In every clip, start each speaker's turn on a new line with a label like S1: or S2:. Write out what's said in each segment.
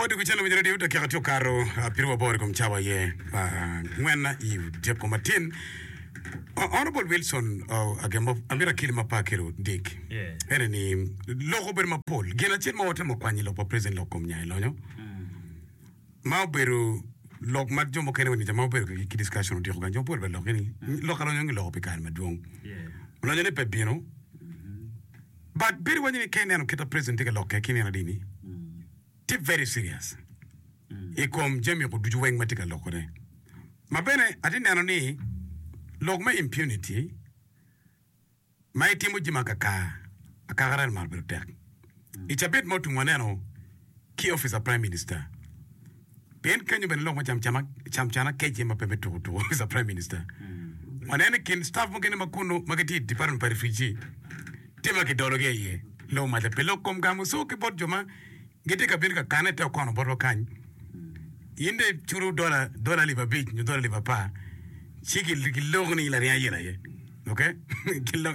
S1: Pwod kucen winyo radio dakika tye okato pyeraboro i kom cawa aye ngwen i dyeko matin. Honorable Wilson agemo amito akeli ma pe akelo dik ene ni lok obedo mapol gin acel ma watemo kwanyo i lok pa president lok kom nyayo lonyo ma obedo lok ma jo mukene wa ma obedo ki discussion otyeko kany jo mapol bene lok ni lok alonyo giloko pi kare madwong lonyo ni pe bino But bedo waco ni ka ineno kit ma president tye ka lokke ki nino adi ni tye very serious i kom jami ko ducu weng ma tye ka loko ne. Ma bene atye neno ni lok me impunity ma itimo jami akaka akaka rel mar bedo tek. I cabit ma otum waneno ki office pa prime minister pien kenyo bene lok me camcana kec iye ma pe me tuko tuko office pa prime minister. Waneno i kin staff mukene ma kunu ma gitye i department pa refugee tye ma kidologi aye lok maca pi lok kom gamo so ki bot jo ma gitye ka bino ka kane i te okono botwa kany. In dong iculo dola dola alip abic nyo dola alip apar ci giloko ni in laring ayela aye. Ok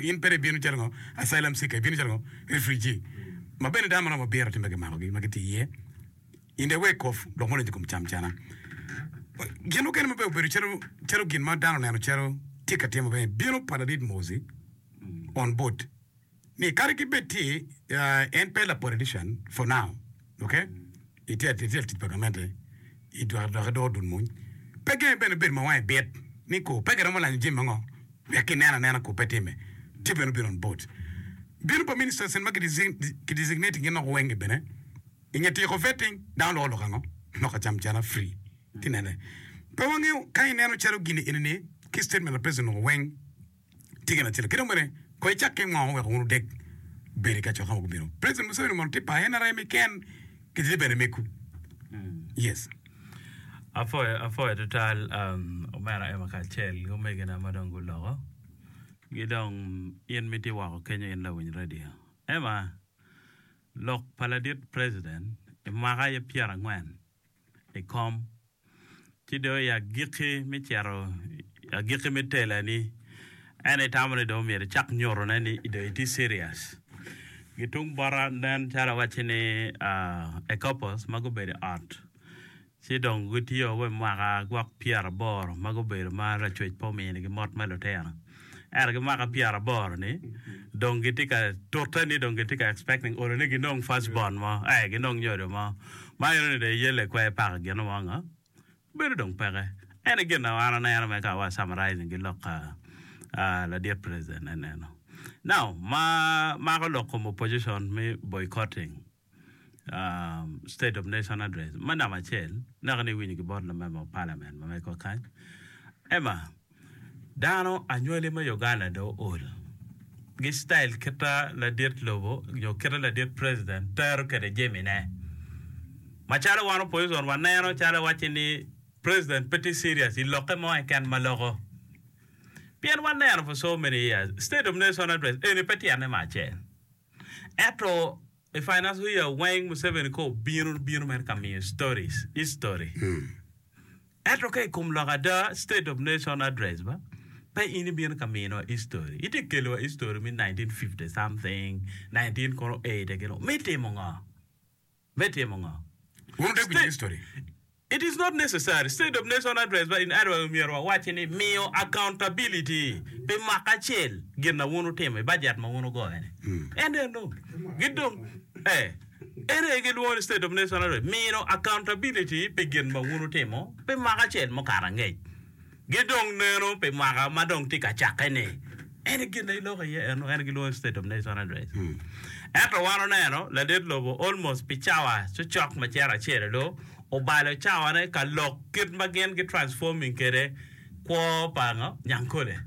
S1: in pe dong ibino calo ngo asylum seeker ibino calo ngo refugee ma bene dano maromo abiro tye ma kimakogi ma gitye iye in the wake of lok ma odonyo i kom camcana. Gin mukene ma bene obedo calo calo gin ma dano oneno calo tye ka timo bene bino pa ladit Mozi on board ni kadi ki bed tye en pe la politician for now ok itye latic pa gamente idwoko dok idoko dul mony pe genge bene bedo ma wange bit ni ko pe giromo lanyo jami ango wek kinen anena ko pe time tye bene obino on board bino pa ministers en ma ki designating gin loko weng bene inge tyeko vetting dano loko lok ango lok acam cana free ti nene pe wangeyo ka ineno calo gini eni ni ki statement pa president loko weng Tye gin acel. Ki dong bene, kong icak ki ngo wek wun wudek bedo i kacokke ma gubino. President Museveni mono tye pa NRM keken ki tye bene megu. Yes.
S2: Apwoyo, apwoyo tutwal um, omera Emma kacel ki omegina ma dong guloko. Ki dong in ma itye woko kenyo in lawiny radio. Emma, lok pa ladit president i mwaka aye pyerangwen i kom ci dong i agikki me cito i agikki me telani en itamo ni dong myero icak nyutone ni dong itye serious. Ki tung bota nen calo awacci ni ecopples ma gubedo i ot ci dong gitiyo wa i mwaka gwok pyeraboro ma gubedo ma lacwec pe ominigi mot me lutino ento ki mwaka pyeraboro-ni dong gitye ka tute ni dong gitye ka expecting olo ni ginong first born mo ee ginong nyodo mo. Ma eno ni dong iyelle kwer paka gin mo ngo bedo dong peke. Ene gin ma an aneno me ka wa summarizing ki lok ka ladit president en eno. Now ma mako lok kom opposition me boycotting state of nation address me namba acel naka ni iwinyo ki bot lamember of parliament ma megwa kany Emma Dano anywali me Uganda dong ool gi style kita ladit lobo nyo kita ladit president tero kede jami ne. Macalo wan opposition waneno calo wacci ni president pe tye serious i lokke mo keken ma loko. Pien waneno for so many years state of nation address eni pe tyene me acel. Ento i financial year weng Museveni ka obino bino mere ka miyo stories, history. Ento ka i kom lok ada, State of Nation Address ba, pe in ibino ka miniwa history. Itye ka keliwa history me 1950 something, 19 kono 80 gino. Me timo ngo? Me timo ngo?
S1: Wun wudek winyo history.
S2: It is not necessary. State of Nation Address ba in other words myero wawacci ni miyo accountability pi mwaka acel gin na wun wutimo i budget ma wun wugoyo ni. En eno. Gidong eh. En aye gilwongo ni State of Nation Address, mino accountability pi gin ma wun wutimo pi mwaka acel mukato angec, ki dong neno pi mwaka ma dong tye ka cakke-ni. En aye gin ma iloko iye eno, en aye gilwongo ni State of Nation Address. Ento wan oneno ladit lobo almost pi cawa cocok ma cito acel olu, obalo cawane ka lok kit ma gin gi transforming kwede kwo pa ngo? Nyangkole.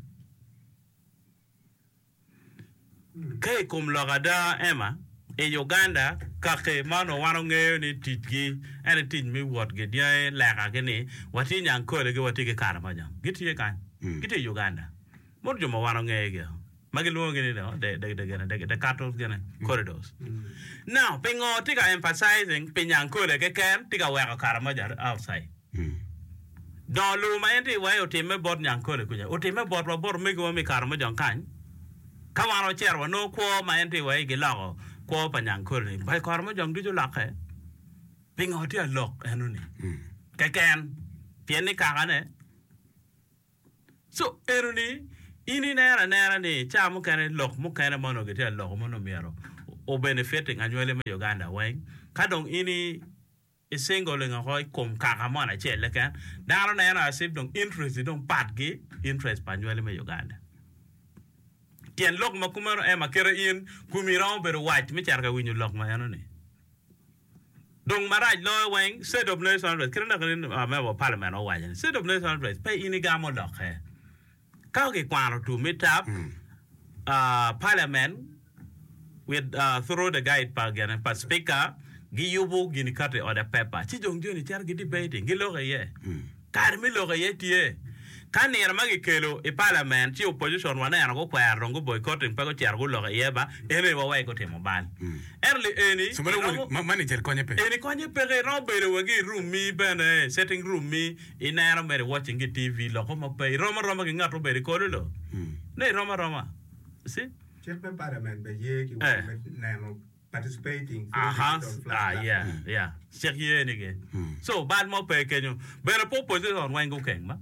S2: Ka i kom lok ada, Emma, i Uganda, kaki ma onongo wan wangeyo ni ticgi en aye tic me wot gidyangi lekagi ni watye i Nyankole ki watye ki Karamoja. Gitye kany. Gitye i Uganda. Mono jo ma wan wangeyogi ma gilwongogi ni the the cattle gine corridors. Now, pingo tye ka emphasizing pi Nyankole keken tye ka weko Karamoja outside? Dongo lobo ma en tye iye otimme bot nyangkole kuca, otimme botwa bot omegiwa me i kare mujong kany. Ka wan wacito wanongo kwo ma en tye iye giloko kwo pa nyangkole-ni. Ba i kare mujong ducu olokke. Pingo tye alok enoni keken? Pien ni kakane. So enoni in ineno anena ni ca mukene lok mukene ma onongo gitye ka loko ma onongo myero o benefiting anywali me Uganda weng ka dong in i singling oko i kom kaka moni acel keken dano neno as if dong interest ni dong pat ki interest pa anywali me Uganda. Tyen lok ma kumeno en ma kite in komi romo bedo wac me cito ka winyo lok ma enoni. Dong marac loyo weng, State of Nation Address, kite lok ni member of parliament owaco ni State of Nation Address pe in igamo lokke. Ka kikwano tum me tap, parliament with through the guide pa gine pa speaker giyubo gin ikato i order paper ci dong joni cito gi debating giloko iye. Kare me lok iye tye. Ka nino ma gikelo i parliament ci opposition waneno gukwero dong gu boycotting pe gucito guloko iye ba eno aye wawek gutimo bal. Ento li eni
S1: So meno
S2: iromo
S1: woni ma manager konye pe.
S2: Eni konye peke iromo bedo wa ki i room mi bene sitting room mi ineno mere watching ki TV loko mo pe irom aroma ki ngat obedo i kolo lo ne irom aroma you see.
S3: Cik me parliament bene ye ki
S2: Eh.
S3: wang me neno participating through
S2: Aha,
S3: digital
S2: ah,
S3: flash
S2: yeah,
S3: platform.
S2: yeah. Cik ye ni ge. So, bal mo pe kenyo. Bene pe opposition weng gukeng ba.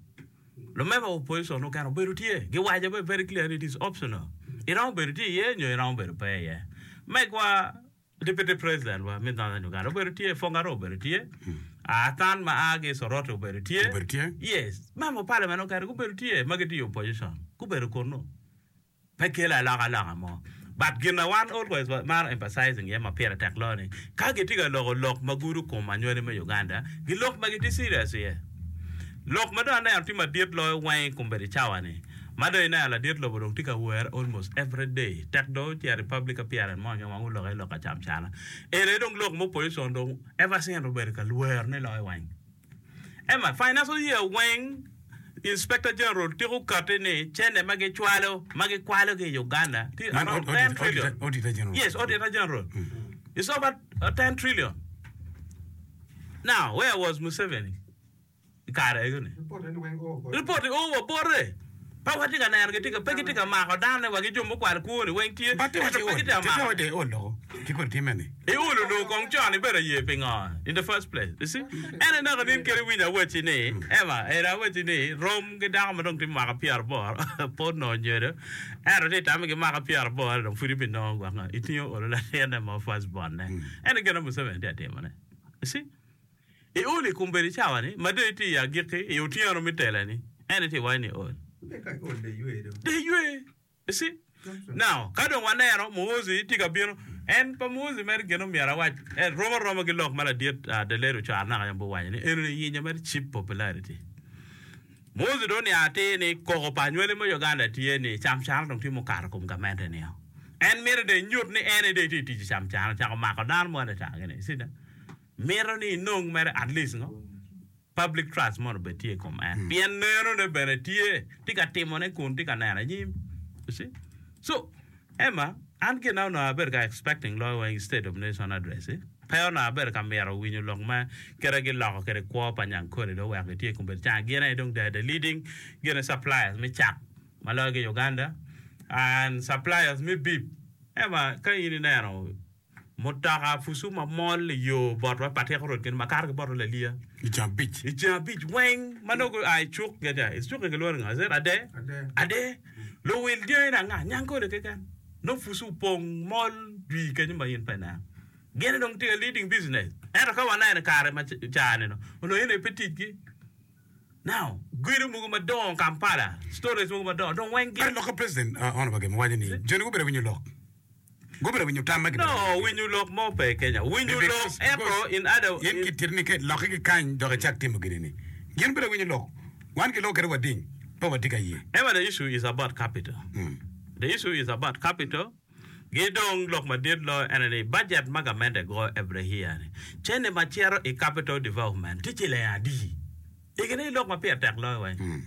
S2: Lumemba opposition mukene obedo tye. Giwaco be very clear ni it is optional. Iromo bedo tye iye nyo iromo bedo pe iye. Megwa Deputy President wa me Northern Uganda obedo tye, Fongaro obedo tye, Athan ma a ki i Soroti obedo tye.
S1: Obedo tye.
S2: Yes. Member of parliament mukene gubedo tye ma gitye i opposition. Gubedo kunnu. Pe kelo alokaloka mo. But gin ma wan always wamaro emphasizing iye ma pire tek loyo ni ka gitye ka loko lok ma gudo kom anywali me Uganda, gilok ma gitye serious iye. Lok ma dong aneno tye madit loyo weng i kombeddi cawa ni ma dong ineno ladit lobo dong tye ka were almost every day tek dong ocito i public appearance mo keken wang oloko iye lok ka camcana. Eni aye dong lok ma opposition dong ever since obedo ka lwerone loyo weng. Emma, Financial year weng Inspector General tiko kati ni cene ma gicwalo ma gikwalo ki i Uganda tye
S1: Man
S2: around
S1: audit-
S2: 10 trillion.
S1: auditor- Auditor General.
S2: Yes, Auditor General. It's over 10 trillion. Now, where was Museveni i kare ego-ni?
S3: Report eni weng oo bote.
S2: Report oo wa bote. Pe watye ka neno gitye ka pe gitye ka mako dano wa ki jo mukwalo kwo ni weng tye
S1: But
S2: ento
S1: wacho
S2: pe
S1: iol,
S2: gitye ka
S1: tete
S2: mako.
S1: wacho iol loko ki kodi time ni.
S2: Iol onongo kong con ibedo aye pingo in the first place you see en aye naka nin kadi iwinyo awacci ni Emma eni awacci ni rom ki dako ma dong tye mwaka pyeraboro pe onongo nyodo ento tye itame ki mwaka pyeraboro dong pud ibinongo gwok ngo itingo olo latinne mo first born ne en aye gin ma Museveni tye ka timone you see. Iol i kom bedo i cawa-ni ma dong itye i agikki, i otyeno me tela-ni, en itye iwaco ni iol. Dong iywe. You see? Now, ka dong waneno Muhoozi tye ka bino, en pa Muhoozi mere gin omyero awac, en rom aroma ki lok ma ladit Deleri ocwaro naka yam guwaco ni enoni yinyo mere cheap popularity. Muhoozi dong oniang atir ni koko pa anywali me Uganda tye ni camcana dong tye mukato kom gamente nio. En mito dong enyut ni en aye dong etye ka tic i camcana, ocako mako dano moni ata gini. You see that? Mito ni inong mere at least ngo public trust mono obed tye i kom en pien neno ne bene tye tye ka timo ne kun tye ka neno anyim you see so Emma an gin na onongo abedo ka expecting loyo weng i state of nation address pe onongo abedo ka mito winyo lok ma kite giloko kwede kwo pa nyangkole dong oweko gitye i kombeddi ca gin aye dong they are the leading gin suppliers me cak ma loyo ki Uganda and suppliers me beef Emma ka in ineno Mutoka pucu ma mol i yo botwa Patiko Road kene ma kato ki botwa Laliya.
S1: I ceng abic.
S2: I ceng abic weng ma nongo gua i cuk gin i cuk-ki gilwongo ni ngo? Is it Ade? Ade. Luwil dyangi ni anga? Nyangkole keken. Nongo pucu opong mol jwi kenyo ma in pe ineno. Gin dong tye ka leading business. Ento ka waneno i kare ma ca-ni onongo in aye pe ticgi. Now, gedo mogo madongo Kampala, stories mogo madongo dong weng gin.
S1: Kare lok ka president Honourable Gem owaco ni joni gubedo winyo lok. Gubedo winyo tam ma gibedo
S2: No, winyo lok mo pe Kenya. Winyo lok ento in other.
S1: In kitito ni lokke ki kany dok icak timo gini ni. Gin gubedo winyo lok. Wan giloko kede wading, pe watye ka ye.
S2: Emma the issue is about capital. The issue is about capital. Gi dong lok madit loyo ene ni budget ma gamente goyo every year ni cene ma cito i capital development tye ciling adi? Egi ni lok ma pire tek loyo weng.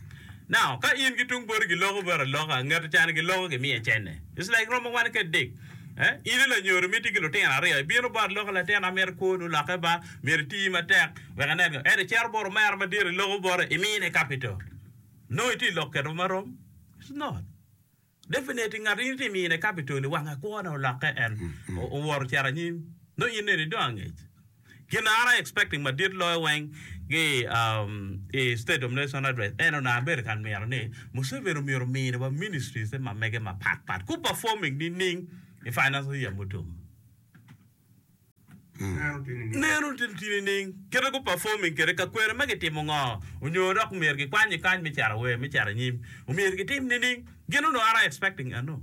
S2: Now, ka in ki tung boti giloko bot aloka, ngat cani giloko gimiye cene. It's like romo wan ki adek. Eh? In i lanyodo ma itye ki lutino aryo, ibino bot aloka latin amito kwoni olokke ba, myero iti matek wek inen ngo. Ento icito bot omera madit iloko bote, imine capital. Nongo itye i lok keto marom? It's not. Definitely ngat in itye mine capital ni wange kwone olokke en owoto ocito anyim nongo in nene idong angec. Gin na an a expecting madit loyo weng ki i State of Nation Address en onongo abedo ka mito ni Museveni omyero omini wa ministries ma mege mapat pat gu performing nining i financial year mutum. Neno tye nining? Kite gu performing kwede ka kwene ma gitimo ngo onyo dok myero gikwany kany me cito wer me cito anyim omyero gitim nining? Gin onongo an a expecting eno.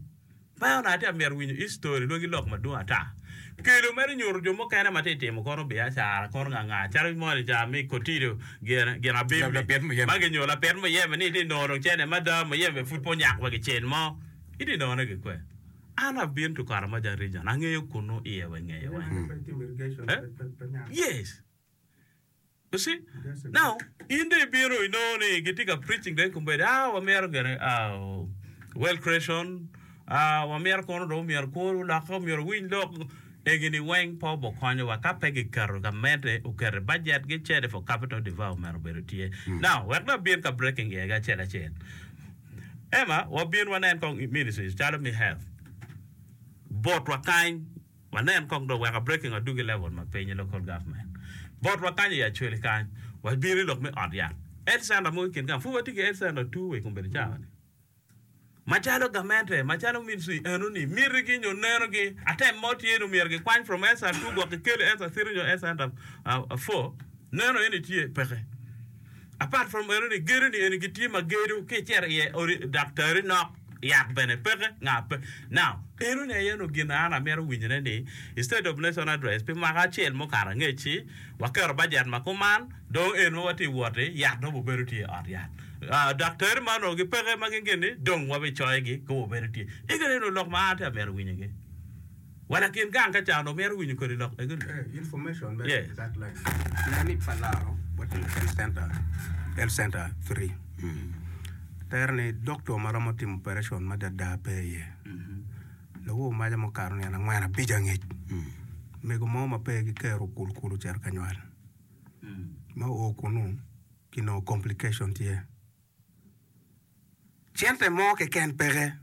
S2: Pe onongo atye amito winyo history lwagi lok madwong ata. Kelo mere nyuto jo mukene ma tye timo kono biacara kono nga nga calo moni ca me Kotido gin gin abim ma ginyo lapit muyeme ni itye nongo dong cene mada muyeme pud pe onyak wa kicel mo itye nongone kikwe. An I've been to Karamoja region angeyo kunu iye wa ingeye weng. Eh? Yes. You see? Now, in dong ibino inongo ni gitye ka preaching dong kombeddi, ah, wamito gire, ah, wealth creation, ah, wamito kono dong myero kwo olokke, myero owiny lok. Egi-ni weng pe obokonyowa ka pe giketo gamente oketo i budget gi cede for capital development obedo tye. Now, wek dong abin ka breaking iye acel acel. Emma, wabin wanen kong ministries calo me health. Botwa kany, Wanen kong dong wek a breaking adwogi level ma piny i local government. Botwa kany i Acholi kany, wabino i lok me ot yat. Health center mogo i kin gang, pud watye ki health center two wa i kombeddi cawa ni. Macalo gamente, macalo ministry eno ni miti gi nyo neno gi, atem mo tye ni myero gikwany from health center two gwok gikel i health center three nyo health center four, neno eni tye peke. Apart from eno ni, gedo ni eni gitye ma gedo ki icito iye odi daktari nok. Yat bene peke, nga pe. Now, eno ni aye onongo gin ma an amito winyone ni i State of Nation Address pi mwaka acel mukato angec-ci, waketo bajet ma kuman, dong en ma watye wot-ti, yat dong obedo tye i ot yat. Ah, daktari ma onongo gipeke ma gin gin-ni, dong wabicoyogi ka wabedo tye. Ego ni onongo lok ma an atye ka mito winyogi. Wa lakin gang ka ca onongo mito winyo kodi lok ego ni.
S3: Eh, information me
S2: Yes.
S3: that line. Nen ni pa laro watye i health center, health center 3. Tere ni doctor ma romo timo operation madada pe iye. Lawor maca mukato nino angwen abic angec, mego mo ma pe ki kero okul kulu ocito ka nywal. Ma oo kunu kinongo complication tye. Cente mo keken peke.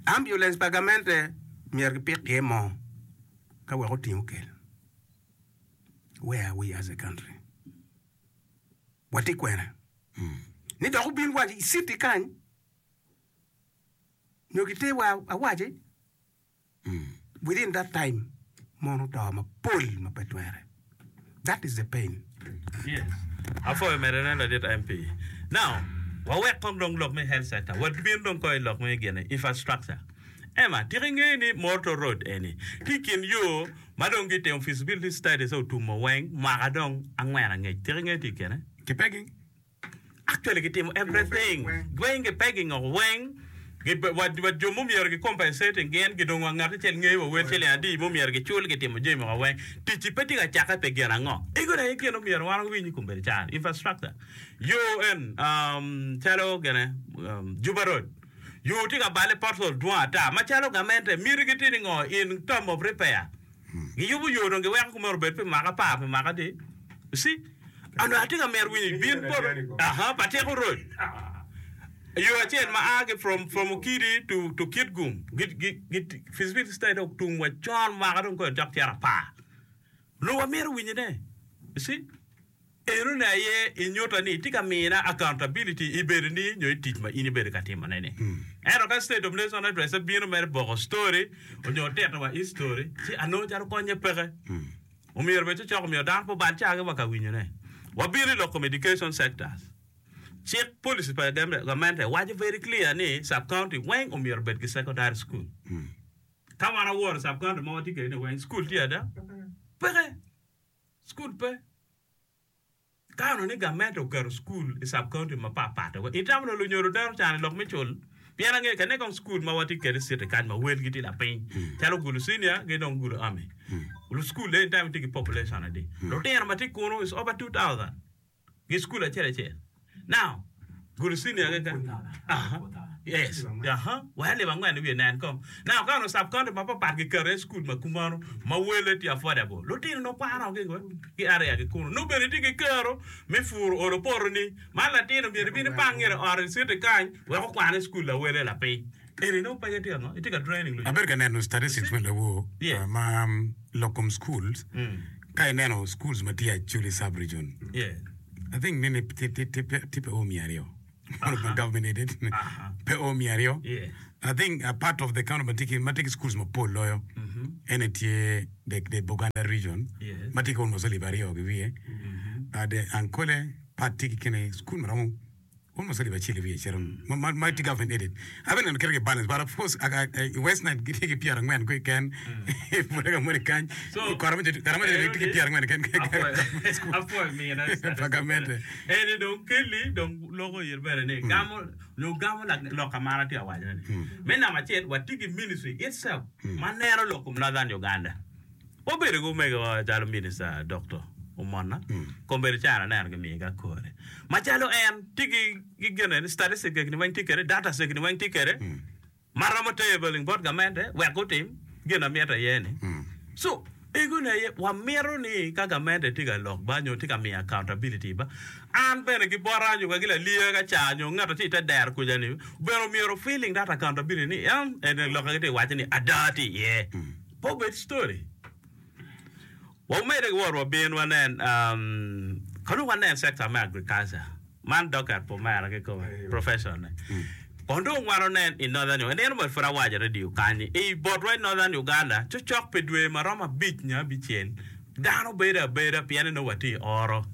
S3: Ambulance pa gamente myero gipik iye moo ka wek oting okel. Where are we as a country? Watye kwene? Ni dok obin wa i city kany nyo giter wa awaci? Within that time mon oto mapol ma pe twere. That is the pain.
S2: Yes. Apwoyo mere ne ladit MP. Now, wawek kong dong lok me health sector. Wabin dong kong i lok me gine, infrastructure. Emma, tika ingeyo ni Morto Road eni tye i kin yo ma dong gitimo feasibility studies otumo weng mwaka dong angwen angec. Tika ingeyo tye i kine?
S1: Ki pegging.
S2: Actually gitimo everything weng gi pegging oko weng wa jo mumyero gi compensating gin gidong wa ngat acel ngeyo wa wel ciling adi mumyero gicul gitimo jami oko weng ticci pe tye ka cakke pi gin ango ego aye gin omyero wan wawiny i kombeddi cani infrastructure yo en calo gine Juba road yo tye ka balle pothole dwong ata macalo gamente miti gi tye ni ngo in term of repair Giyubo yo dong giweko kumeno obed pi mwaka apar pi mwaka adi. You see? Onongo atye ka mito winyo bin poto. Aha, Patiko Road. Yo acel ma a ki from from Okidi to to Kitgum. Gi gi gi feasibility study dong otum wa con mwaka dong kong cok cito apar. Onongo wamito winyone. You see? Enoni aye inyuta ni itye ka mina accountability i bedoni nyo i tic ma in ibedo ka timone ni. Ento ka State of Nation Address bino mere boko story onyo tito wa history ci anongo calo konye peke. Omyero bed cocok omyero dano pe obal caa gi wa ka winyone. Wabino i lok kom education sectors. Cik policy pa gamente waco very clear ni sub county weng omyero obed ki secondary school. Ka wan aworo sub county ma watye kwede ni weng school tye ada? Peke. Cukul pe. Ka onongo ni gamente oketo cukul i sub county mapat pat, itamo ni lunyodo deno can i lok me cul? Pien angeyo kene kong cukul ma watye kwede i city kany ma welgi tye lapiny calo Gulu Senior ki dong Gulu Army. Cukul eni time tye ki population adi? Lutino ma tye kunu is over 2000. Gi cukul acel acel. Now, Gulu Senior keken. Aha. Yes. Aha. Wek alib angwen i wiye nen kong. Now, ka onongo sub county mapapat giketo iye cukul ma kumano ma wele tye affordable, lutino nongo kwano ki ki area ki kunu. Nongo bene itye ki kero me puro olo potoni. Man latin omyero ibin ipang ngete ot i city kany wek okwan i cukul lawele lapiny. Eni nongo pe gitye ka ngo? Itye ka training lunyodo.
S1: Abedo ka neno statistics me lawor
S2: Yes.
S1: ma lok kom schools. Ka ineno schools ma tye Acholi sub region, I think nene tye pe o miya aryo. Ma government aided pe o miya aryo. I think a part of the county ma tye ki schools mapol loyo ene tye the Buganda region ma tye ki almost alip aryo ki wiye. The Ankole part tye ki kine school maromo Almost alip acel i wiye cito ma tye government aided. Abe neno kite ki balance but of course i West Nile gitye ki pyerangwen keken i Bulega moni kany i Karamoja Karamoja tye ki pyerangwen keken
S2: Apwoyo mina
S1: pa gamente.
S2: Eni dong keli dong loko ir bene ni gamo nyo gamo lok ka ma an atye ka wacone ni me namba acel watye ki ministry itself ma neno lok kom Northern Uganda. Wabedo ki omegowa calo Minista Dokto Omonna, kombeddi caro aneno gimiye ki akore. Macalo en tye ki gin eni, statistics egini weng tye kwede, data egini weng tye kwede, ma romo tabling bot gamente wek gutim gin ma mitte iye-ni. So, egoni aye wamito ni ka gamente tye ka lok ba nyo tye ka miyo accountability ba, an bene ki bota nyo wa ki laliya ka ca nyo ngat ma tye i te dero kuca-ni bene omyero feeling that accountability ni en eni lok ma gitye ka waco ni ada tye iye. Pe obed story. Wamedde ki wot wabin wanen um, ka dong wanen sector me agriculture. Man docket pa omera kikome, profession ne. Kong dong wan onen i Northern Uganda. Nino moni pud awaco i radio kany ni i botwa i Northern Uganda cocok pi dwe ma romo abic nyo abicel dano bedo abeda pien ni nongo watye i oro.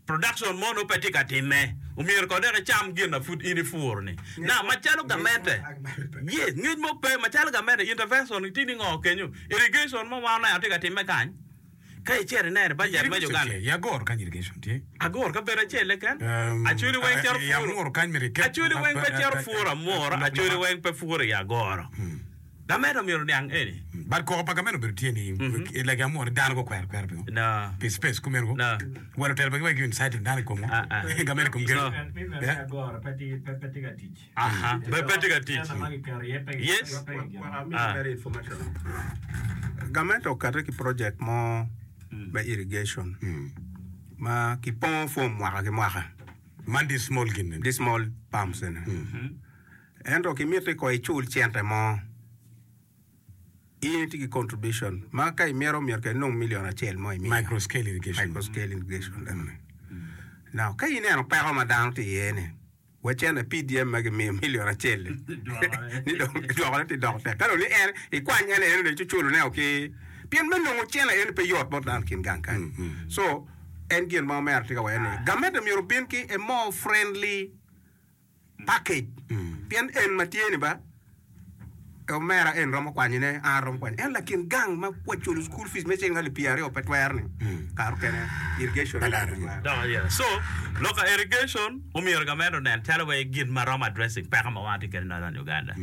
S2: Production mo nongo pe tye ka timme. Omyero kong dok icam gin ma pud in ipuro ni. Now macalo gamente, yes, ngec mo pe, macalo gamente intervention tye ni ngo kenyo? Irrigation mo ma waneno tye ka timme kany. Ka icito ineno i budget me
S1: Irrigation
S2: Uganda.
S1: tye, i Agoro kany irrigation tye.
S2: Agoro kabedo acel keken.
S1: Um,
S2: Acholi weng cito
S1: i
S2: puro.
S1: Amuru kany myero iket
S2: Acholi weng pe cito puro Amuru, Acholi weng pe puro i Agoro. Gamente omyero oniang eni.
S1: But koko pa gamente obedo tye ni like amor ni dano gukwero kwera pingo?
S2: No.
S1: Pi space kumeno ko.
S2: No.
S1: Wero telo pa giweko gi inciting dano i komwa.
S2: Ah, ah.
S1: Gamente kom gero.
S2: No.
S1: Yeah.
S4: Agoro pe tye pe tye ka tic.
S2: Aha. Pe pe tye ka tic.
S4: Cente ma giketo iye pe
S2: Yes.
S4: pe
S3: Wek
S4: gino.
S3: amiyi
S2: Ah.
S3: mere information. Gamente okate ki project mo me irrigation ma kipongo form mwaka ki mwaka.
S1: Man di small gin eni.
S3: Di small pumps eni. Ento kimiti ko icul cente mo, in itye ki contribution ma ka imito myero kong inong million acel mo imiyo.
S1: Micro scale irrigation.
S3: Micro scale irrigation enoni. Now ka ineno peko ma dano tye iye ni, wa cente PDM ma gimiyo million acel-li ni dong dwokone tye doko tek. Ka dong ni en ikwany en enoni ci culone o ki pien me nongo cente eni pe yot bot dano kin gang kany. So en gin ma omera tye ka waco ni gamente myero obin ki a more friendly package pien en ma tye ni ba omera en romo kwanyo ne an aromo kwanyo ento lakin gang ma wa culo school fees me ciling alip pyeraryo pe twero ni kare okene irrigation
S1: Pe laro.
S2: Dok aye. So, lok ka irrigation omyero gamente onen calo wai gin ma romo addressing peko ma wan watye kwede i Northern Uganda.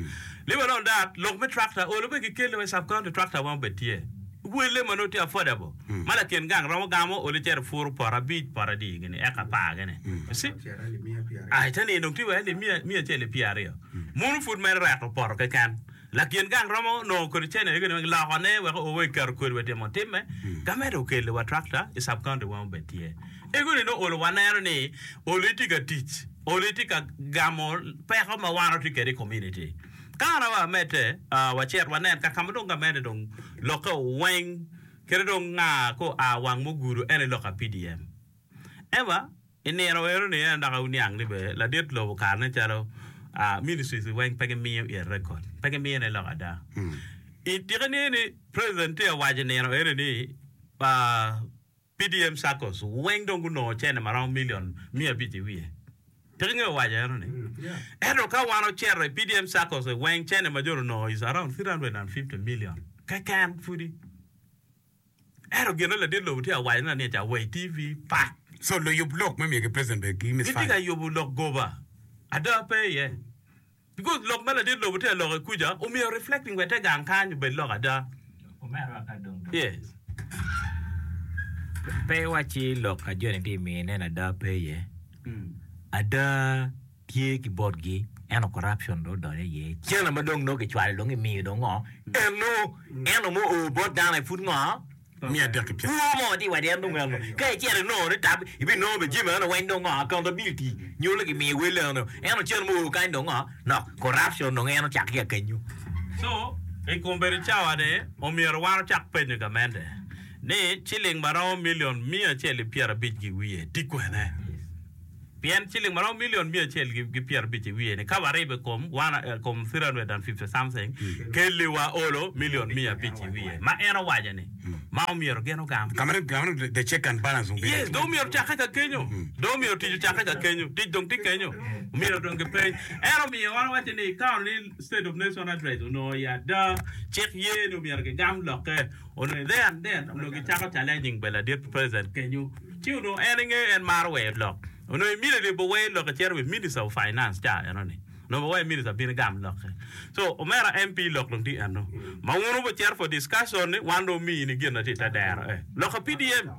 S2: Leave alone that, lok me tractor olo bene gikelle wa i sub county tractor weng obed tye. Welle ma nongo tye affordable ma lakin gang romo gamo olo cito puro poto abic poto adi gini eka apar gini. You see? Ah, ite ni dong tye wa alip miya acel ki pyeraryo. Munu pud mere reto poto keken. Lakin gang romo nongo kodi cene gini weng lokone wek oo wa iketo kodi wa timo timme. Gamente okeli wa tractor i sub county weng obed tye. Ego ni nongo olo waneno ni olo itye ka tic, olo itye ka gamo peko ma wan watye kwede i community. Ka an aye amedde, wacit wanen ka ka ma dong gamente dong lokke weng kite dong nga ka oa wang mugudo en aye lok pa PDM. Eva, i nino eno ni en dok awuniang ni bene ladit lobo kare ne calo ministries weng pe gimiyo it record, pe gimiyo ne lok ada. I tike ni ni president tye ka waco i nino eno ni PDM Saccos weng dong gunongo cene ma romo million miya abic i wiye. Tika ingeyo waco eno ni? Ento ka wan ocito i PDM Saccos weng cene ma jo onongo is around 350 million keken pudi. Ento gin ladit lobo tye ka waco ne ni ca wa i TV pak.
S1: So luyub lok me miyo ki president bene gi
S2: Gitye ka
S1: misfire.
S2: yubo lok goba. Ada pe iye. Because lok ma ladit lobo tye ka loko i kuca omyero reflecting wa i te gang kany obed lok ada. Yes.
S5: Pe iwacci lok a joni tye mine ni ada pe iye. Ada tye ki botgi ento corruption dong odonyo iye. Cene ma dong nongo kicwalo dong imiyo dong ngo? Eno eno mo oo bot dano aye pud ngo? Kwo mo tye iwaco en dong eno ka icito inongo ni tab ibinongo bene jami eno weng dong ngo accountability nyo ni gimiyo wel eno ento cen mo oo kany dong ngo nok corruption dong en ocake ki akenyo.
S2: So i kom bedo cawa ni omyero wan ocak penyo gamente. Ni ciling ma romo milion 150 ki wiye tye kwene? Pien ciling ma romo milion 150 i wiye ni ka waribo i kom one kom 350 something kelli wa olo milion 500 i wiye ma en owaco ni ma omyero gin ogam.
S1: Ka ma dong the check and balance dong bedo.
S2: Yes, dong omyero ocakke ka kenyo. Dong omyero tic ocakke ka kenyo. Tic dong tye kenyo. Omyero dong gipeny. En omiyo wan wawaco ni ka ni State of Nation Address onongo i ada cik ye ni omyero gigam lokke. Onongo there and then onongo gicako challenging bene ladit president kenyo ci onongo en inge en maro weyo lok onongo immediately bo weyo lokke cito wi minister of finance ca eno ni onongo bo weyo minister bin gam lokke so omera MP lok dong tye eno ma wun wubo cito for discussion ni wan dong omini gin na tye ite dero eh lok pa PDM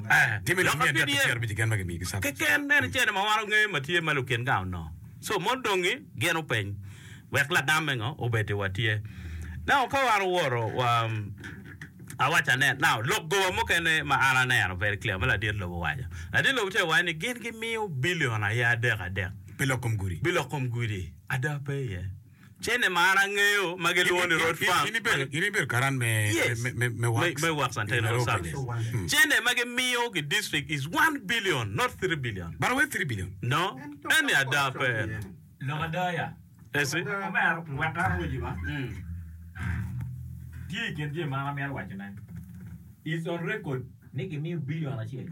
S2: eh
S1: Timo
S2: lok
S1: lok
S2: pa
S1: me adek
S2: PDM
S1: pyerabicce keken ma gimiyo ki surplus.
S2: keken en cene ma wan ongeyo ma tye ma lukin gang onongo so mon dongi gin openy Wek lagamme ngo obed i wa tye. Now ka wan owoto wa awaco anen now lok goba mukene ma an aneno very clear ma ladit lobo owaco. Ladit lobo tye ka waco ni gin gimiyo billion aye adek adek.
S1: Pi lok kom gudi.
S2: Pi lok kom gudi. Ada pe iye. Cene ma an angeyo ma gilwongo ni road fund.
S1: In ibedo karan me
S2: Yes.
S1: me works.
S2: Me works and technical service. Cene ma gimiyo ki district is 1 billion not 3 billion.
S1: But where 3 billion?
S2: No. Eni ada pe.
S5: Lok ada ya.
S2: Eci.
S4: Omera, wek an awaci ba. Tye i kin jami ma an amito wacone.
S5: It's on record ni gimiyo billion acel.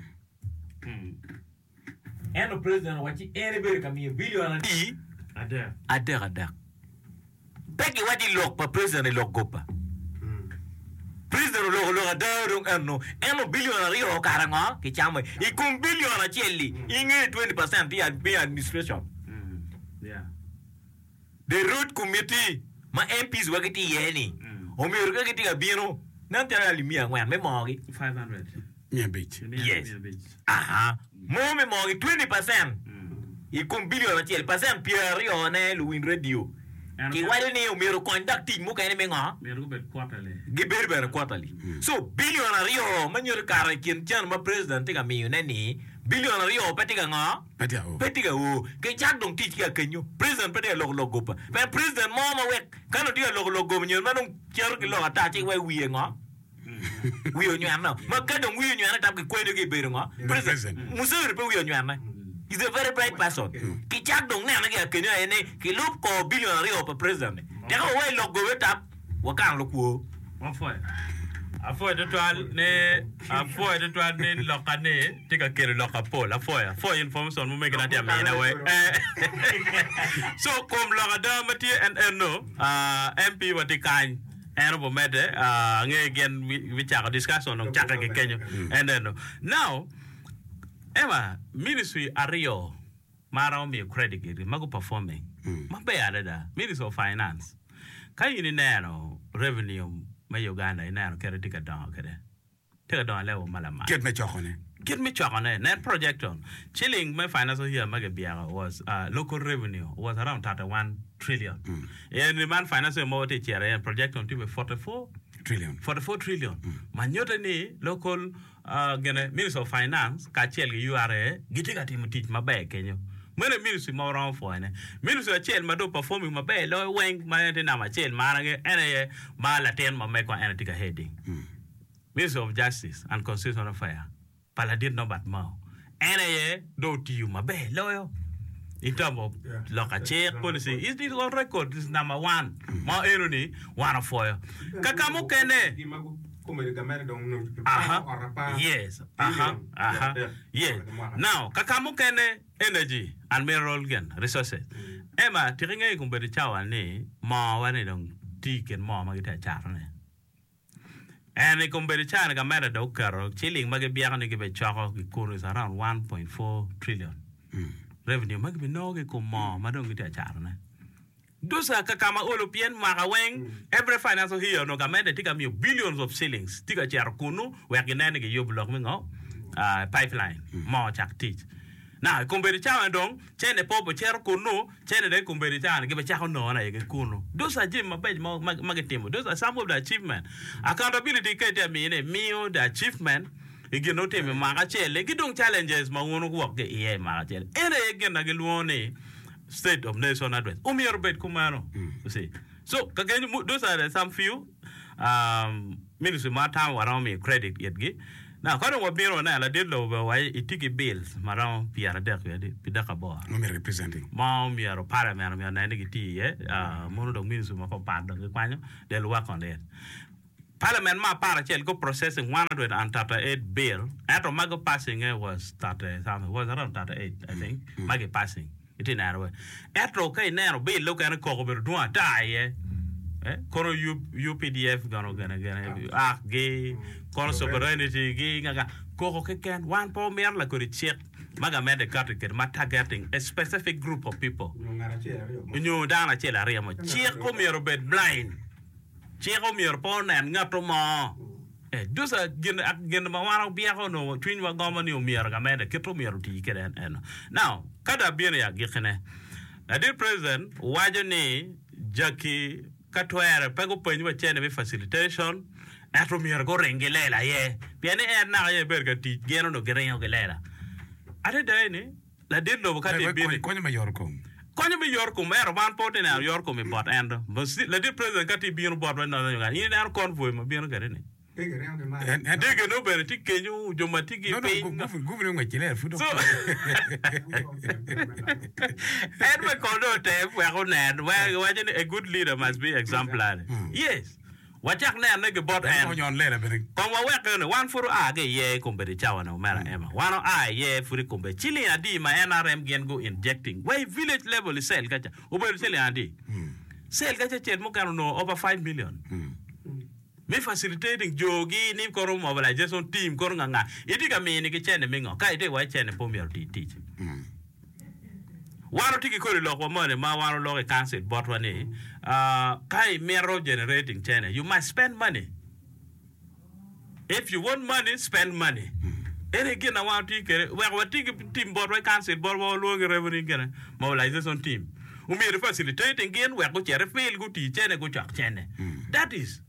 S5: Ento president owacci en ebedo ka miyo billion adi?
S2: Adek.
S5: Adek adek. Pe giwaco i lok pa president i lok goba. President oloko lok ada dong eno. Ento billion aryo kara ngo kicamo i kom billion acel-li inge 20% tye me administration. The road committee ma MPs wa gitye iye ni omyero ka gitye ka bino nen calo alip 400 me moogi.
S2: 500.
S1: 500.
S5: Yes. Aha. Mo me moogi 20% i kom billion acel, percent 20 ne luwiny radio kiwaco ni omyero okony dok tic mukene me ngo?
S2: Myero gubed quarterly.
S5: Gibedo bene quarterly. So billion aryo ma nyuto kare i kin cen ma president tye ka miyo ne ni billion aryo pe tye ka ngo?
S1: Pe tye ka o.
S5: Pe tye ka o. Kicak dong tic ki akenyo. President pe tye ka loko lok goba. Pien president mo ma wek ka nongo tye ka loko lok goba nyo ma dong cito ki lok ata ci wek wiye ngo? Wiye onywene. Ma ka dong wiye onywene tam kikwenyo ki ibedo ngo? President. Museveni pe wiye onywene. He's a very bright person. Kicak dong nene ki akenyo aye ni kilub kor billion aryo pa president ni. Teka wawai lok gobe tap wakano lukwo.
S2: Wapwoyo. Apwoyo tutwal ni apwoyo tutwal ni loka ni tye ka kelo lok apol. Apwoyo. Apwoyo information mumegina tye amina we. So kom lok ada ma tye en eno ah, MP wa tye kany. En obomedde ah, ange gin bicako discussion dong cakke ki kenyo. En eno. Now Emma, ministry aryo ma aromo miyo credit gitgi ma gu performing maber adada, Ministry of Finance. Ka in ineno revenue me Uganda ineno kite tye ka dongo kwede, tye ka dongo i level ma lamal.
S1: Kit me cokone.
S2: Kit me cokone, nen projection, ciling me financial year ma gibyeko was local revenue was around 31 trillion. Eni man financial year ma watye ka cito iye ni projection tye 44
S1: Trillion.
S2: 44 trillion. Ma nyutte ni local Gine, Ministry of Finance kacel ki URA gitye ka timo tic maber kenyo. Meno aye ministry ma waromo pwoyone. Ministry acel ma dong performing maber loyo weng ma en tye namba acel ma an angeyo en aye ma latin ma megwa en aye tye ka heading. Ministry of Justice and Constitutional Affair pa ladit Norbert Mao en aye dong otiyo maber loyo in terms of loko cik, policy, is on record is number one ma eno ni wan opwoyo. Kaka mukene Aha, yes, aha, aha, yes. Now, kaka mukene energy and mineral gin resources. Emma, tika ingeyo i kom bedo cawa ni moo wa ni dong tye i kin moo ma gitye ka catone? En i kom bedo cawa ni gamente dong oketo ciling ma gibyeko ni gibicoko gikuno is around 1.4 trillion revenue ma gibinongo ki i kom moo ma dong gitye ka catone. Duca ka ka ma olo pien mwaka weng every financial year onongo gamente tye ka miyo billions of shillings tye ka cito kunu wek ginen ni giyubo lok me ngo pipeline moo cak tic. Now i kombeddi cawa ni dong cene pe obicito kunu cene dong i kombeddi cawa ni gibicako nongone aye ki kunu. Those are jami mabeco ma gitimo those are some of the achievement. Accountability ka itye ka miyone imiyo the achievement i gin ma otimo i mwaka acel-li ki dong challenges ma wun wuwok ki iye i mwaka acel. Eno aye gin ma gilwongo ni State of Nation Address omyero obed kumeno. You see. So, ka kenyo, those are some few um, Ministry ma atamo waromo miyo credit itgi. Now ka dong wabino waneno ladit lobo bene owaco itye ki bills ma romo pyeradek wiye adi pidek aboro
S1: Ma myero gipresenti.
S2: ma omyero parliament omyero onen ni gitiyo iye ah, mono dong ministry mapapat dong gikwanyo they will work on it. Parliament me aparacel gu processing 138 bill ento ma gu passing nge was 30 something was around 38 I think ma gi passing. Itye neno we. Ento ka ineno bill okene koko obedo dwong ata iye. Eh, kono UPDF gono gene gene ak gi kono sovereignty gi nga nga koko keken wan pe wamito lakodi cik ma gamente kati kede ma targeting a specific group of people nyo dano acel aryo mo. Cik omyero obed blind. Cik omyero pe onen ngatto mo. Those are gin gin ma wan wabyeko onongo cwinywa gomo ni omyero gamente kit omyero oti kwede en eno. Now, ka dong abino i agikkine, ladit president waco ni jaki ka twere pe gupeny wa cene me facilitation ento myero guring ki lela aye pien ni en naka aye ebedo ka tic gin onongo giringo ki lela. Adada ni Ladit lobo ka tye bino.
S1: Konyo me yot kom.
S2: Konyo me yot kom ento wan pe watye neno yot kom i bot en do. Ladit president ka tye bino botwa i Northern Uganda in ineno convoy ma bino kwede ni. Dege nongo bene tye kenyo jo ma tye ki piny.
S1: Guvine ngwec ki ler pud
S2: dok. En bene kong dong otem wek onen waco ni a good leader must be exemplary. Yes. Wacak nene ki bot en. Kong wawek eno, wan pud oa ki iye i kombeddi cawa-ni, omera Emma. Wan oa iye pud i kombeddi. Ciling adi ma NRM gin gu injecting wa i village level i cell kaca? Obedo ciling adi? Cell kaca cel mukene onongo over 5,000,000 me facilitating jogi ni kono mobilization team kono nga nga. Itye ka minigi cene me ngo? Ka itye ka waco cene pe omyero oti tic. Wan watye ki kodi lokwa moni ma wan waloko i council botwa ni ka imito generating cene you must spend money. If you want money, spend money. Eni gin ma wan watye kwede wek wati ki team botwa i council botwa walwongo ki revenue gine mobilization team. Omyero facilitating gin wek gucit i field guti cene gucok cene. That is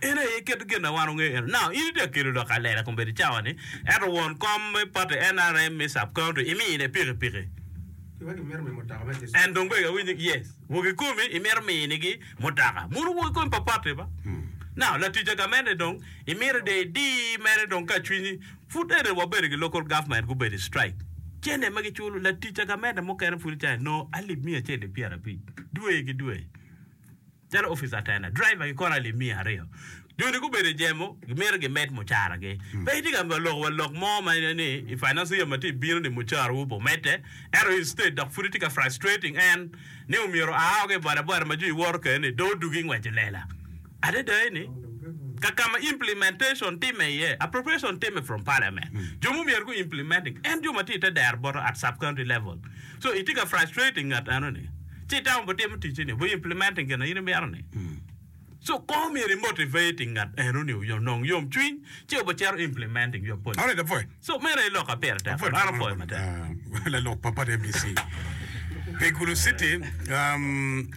S2: En aye kit gin ma wan wangeyo eno. Now, in itye ka kelo lok alela kombeddi cawa ni, ento won kom me party NRM me sub county imine pikipiki. En dong bene awinyo yes, wok ikomi imito minigi mutoka. Muno wok ikomi pa party ba. Now, latic a gamente dong imito de idi mere dong ka cwinyi pud ene wabedo ki local government gubedo i strike. Cene ma giculo latic a gamente mukene pud icayi nongo alip miya acel ki pyerabic dwe ki dwe. Calo opica atena, driver ki kono alip miya aryo. Joni gubedo i jemo, gimito gimed mucaragi. Pe itye ka loko wa lok mo ma ni i financial year ma tye bino ni mucarawu obimedde, ento instead dok pud itye ka frustrating en ni omyero oa woko i boda boda ma jo iwoto kwede ni dong odugi ingweco lela. Adada eni, ka ka ma implementation timme iye, appropriation timme from parliament. Jo ma omyero gu implementing en jo ma tye i te dero boto at sub county level. So itye ka frustrating ngat eno ni ci itamo bi timo ticci ni bi implementing gin ma in imito ni. So kong myero i motivating ngat eno ni onong yom cwiny ci obi cito implementing your policy.
S1: Alright, apwoyo.
S2: So meno aye lok ma pire tek.
S1: Apwoyo
S2: An apwoyo matek.
S1: Lalok pa party MDC pi Gulu City, um,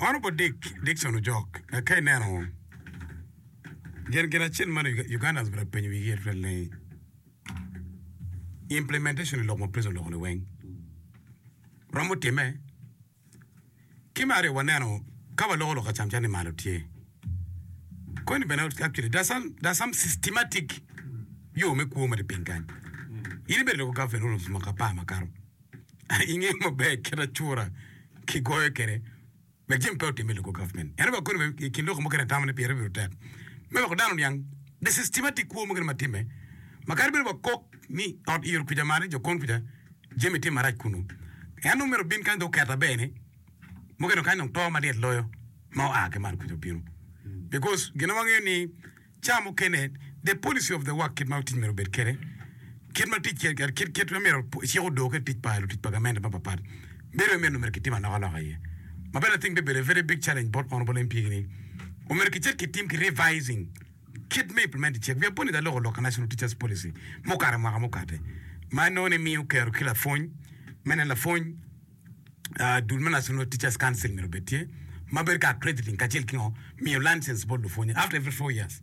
S1: Honorable Dick, Dickson Ojok, ka ineno gin gin acel ma Ugandans obedo ka penyo wigi iye tutwal ni Implementation i lok ma president oloko ni weng romo time ki me aryo waneno ka waloko lok acam calo ni malo tye koni bene actually there's some, there's some systematic yo me kwo ma tye piny kany in ibedo loko government almost mwaka apar makato ingeyo maber kit acura kigoyo kwede Wek jami pe otimme i local government. Ento wa koni bene i kin lok mukene atamo ni pire obedo tek me weko dano oniang the systematic kwo mukene ma timme ma kadi bed wa kok ni ot iro kuca malo jo kon kuca jami tye marac kunu en dong myero obin kany dong oket aber ni mukene kany dong to malyet loyo ma oa ki malo kuca obino because gin ma wangeyo ni Ca mukene, the policy of the work, kit ma tic myero obed kwede, kit ma tic kit kit ma myero cik odor kwede tic pa lutic pa gamente mapatpat, bedo aye myero kitim alokaloka iye. Ma bene I think bibedo a very big challenge bot Honourable MP ni omyero kicit kitim ki revising kit me implement cik. Wiya po ni aloko lok ka National Teachers Policy mukato mwaka mukate ma inongo ni miyo kero ki lapwony me neno lapwony Dul me National Teachers Council myero obed tye ma bedo ka accrediting kacel ki ngo miyo license bot lupwonye after every 4 years.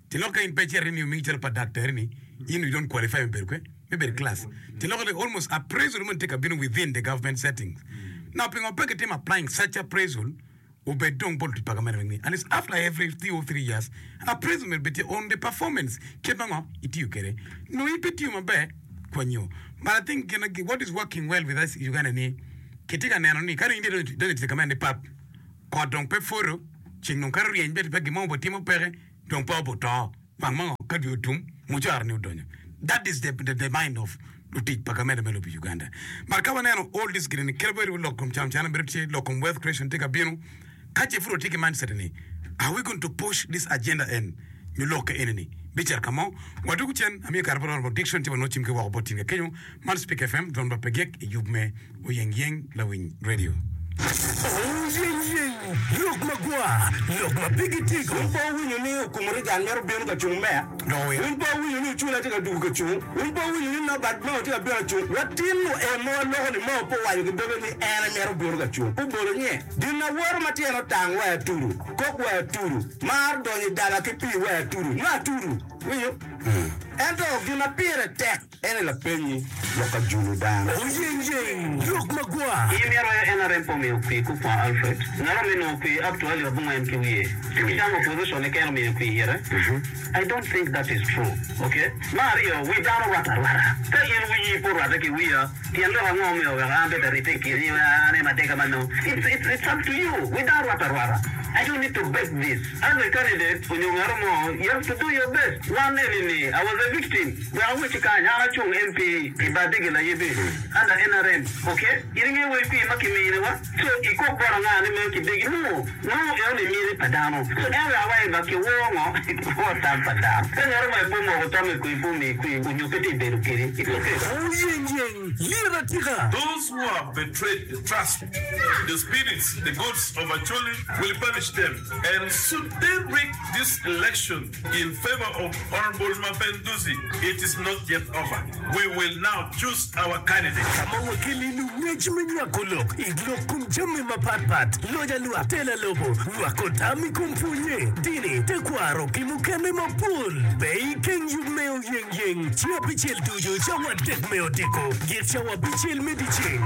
S1: Tyen lok ka in pe icito ni omiyi calo pa daktari ni in you don't qualify me bedo kwe me bedo i class. Tyen lok ni almost appraisal moni tye ka bino within the government settings. Now pingo pe kitimo applying such appraisal? Obed dong bot lutic pa gamente weng ni at least after every 2 or 3 years appraisal myero obed tye on the performance kit ma ngo itiyo kwede nongo in pe itiyo maber kwanyo but I think gin what is working well with us i Uganda ni kitye ka neno ni ka dong in idonyo i tic gamente ni pap kot dong pe pwodo ceng dong kadi oryeny bene pe gin mo obitimo peke dong pe obuto wang ma ngo ka dwe otum mucara ni odonyo that is the, the, the mind of lutic pa gamente me lobo Uganda. But ka waneno all this gini ni kadi bed lok kom camcana bedo tye lok kom wealth creation tye ka bino ka ce pud watye ki mindset ni are we going to push this agenda en nyo lok ka eni ni bicito ka mo wadwogo cen amiyo kare bot Honorable Dickson ci wanongo cim ki woko bot tim ka kenyo man Speak FM dwon ba pe gik i yub me Oyeng yeng lawiny radio.
S6: Oyeng yeng, lok magwar, lok ma pe gitego.
S7: Wun pe wuwinyo ni Okumu Reagan mito bino ka cung meya? Wun pe wuwinyo ni Ocula tye ka dugo ka cung? Wun pe wuwinyo ni Norbert Mao tye ka bino ka cung? Watino en ma waloko ni Mao pe owaco ki doge ni en aye mito bino ka cung. Pe obolo nye. Gin awoto ma tyene otang wai atudu, kok wai atudu, mar donyo i daba ki pii wai atudu, nongo atudu. Iwinyo? Ento gin ma pire tek. En aye lapenyi lok ka julo dano.
S6: Oyengyeng lok magwar.
S8: In myero aye NRM pe omiyo kwir Kukwa Alfred. Ngat ome nongo kwir up to alip abongwen ki wiye. Ci ki camo opposition keken omiyo kwir ite. I don't think that is true. Ok. Me aryo, wi dano rwate arwata. Ka in wiyi pe orwate ki wiya, tyen lok ango omiyo weko an bed aribbe i kini an aye madega ma nongo. It's, it's, it's up to you. Wi dano rwate arwata. I don't need to beg this. As a candidate onyo ngato mo, you have to do your best. Wan eni ni, I was a victim. Wek awecci kany, an acung MP i Badigi Layibi under NRM, ok? In ingeyo wel kwir ma kiminiwa? So ikok bot anga ni meno kidegi? No, nongo eno ni miti pa dano. So en wek awaci ba kiwor ngo? Kiwor tam pa dano. Ka ngato mo aye pe omoko tamme kwir pe omiyi kwir onyo pe tye bedo kedi, it's ok.
S6: Oyengyeng, lyet atika.
S9: Those who have betrayed the trust, the spirits, the gods of Acholi will punish them and should they rig this election in favor of Honourable Mapenduzi, it is not yet over. We will now choose our candidate.
S6: Ka ma wakeli lungec me nywako lok i lok kom jami mapatpat, loc alwak, tela lobo, nywako tam i kom pwonye, dini, tekwaro ki mukene mapol. Be ikeng yub me oyengyeng ceng abicel ducu cawa adek me odiko git cawa abicel me dyeceng.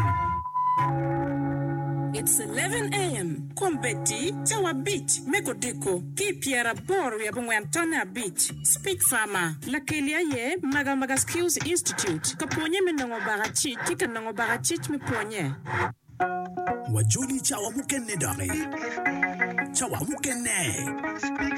S10: It's 11 am. Kombeddi cawa abic me kodiko ki i pyeraboro wiye abongwen tonne abic. Speech Farmer, Lakeli aye Magamaga Skills Institute ka pwonye me nongo bakacic ki ka nongo bakacic me pwonye.
S6: Wajoli cawa mukene doki. Cawa mukene.